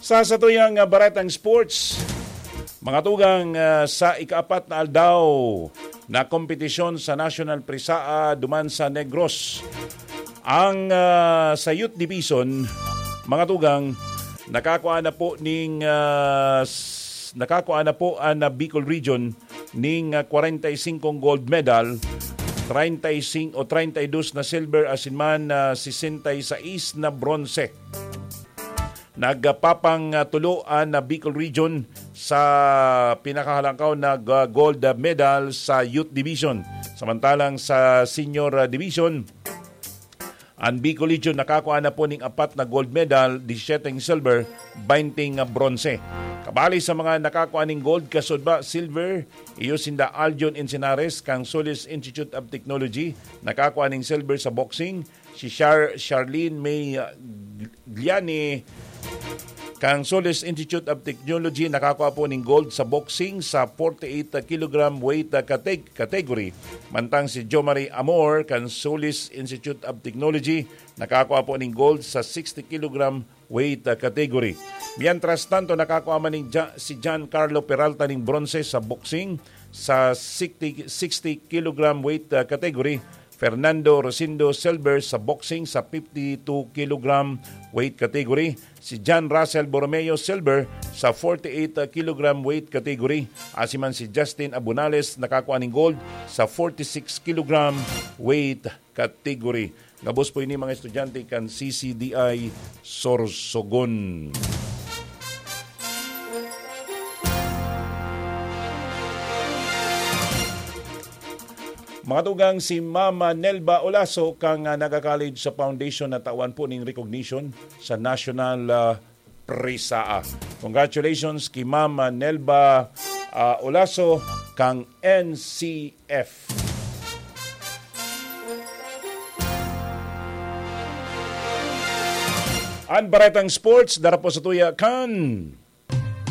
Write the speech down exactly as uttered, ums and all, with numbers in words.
Sa satuyang, ah, baretang sports, mga tugang, ah, sa ikaapat na aldaw na kompetisyon sa National Prisaa duman sa Negros. Ang, ah, sa Youth Division, mga tugang, nakakua na po ning, ah, s-, nakakua na po ang, ah, Bicol Region ning, ah, kwarenta y singkong gold medal, treinta y cinco o treinta y dos na silver, asin man, ah, sesenta y seis na bronze. Nagpapangtulo an Bicol Region sa pinakahalangkaw na g-, gold medal sa Youth Division. Samantalang sa Senior Division, ang Bicol Region nakakua na po ning apat na gold medal, disisiyete silver, baynte bronze. Kabali sa mga nakakua ning gold, kasudba, silver, iyo sinda Aljon Encinares, kang Solis Institute of Technology, nakakua ning silver sa boxing, si Char-, Charlene May, uh, Gliani, kang Solis Institute of Technology, nakakua po ning gold sa boxing sa forty-eight kilogram weight, uh, categ-, category. Mantang si Jomari Amor, kang Solis Institute of Technology, nakakua po ning gold sa sixty kilogram weight, uh, category. Mientras tanto, nakakua man ning Ja-, si John Carlo Peralta ning bronze sa boxing sa sixty, sixty kilogram weight, uh, category. Fernando Rosindo silver sa boxing sa fifty-two kilogram weight category. Si John Russell Borromeo silver sa forty-eight kilogram weight category. Asin man si Justin Abunales nakakua ning gold sa forty-six kilogram weight category. Gabos po ini, mga estudyante kan C C D I Sorsogon. Mga tugang, si Mama Nelba Olaso kang, ah, Naga College sa Foundation na tawan po ning recognition sa National, ah, Prisaa. Congratulations ki Mama Nelba, ah, Olaso kang N C F. An baretang sports, dara po sa tuya kan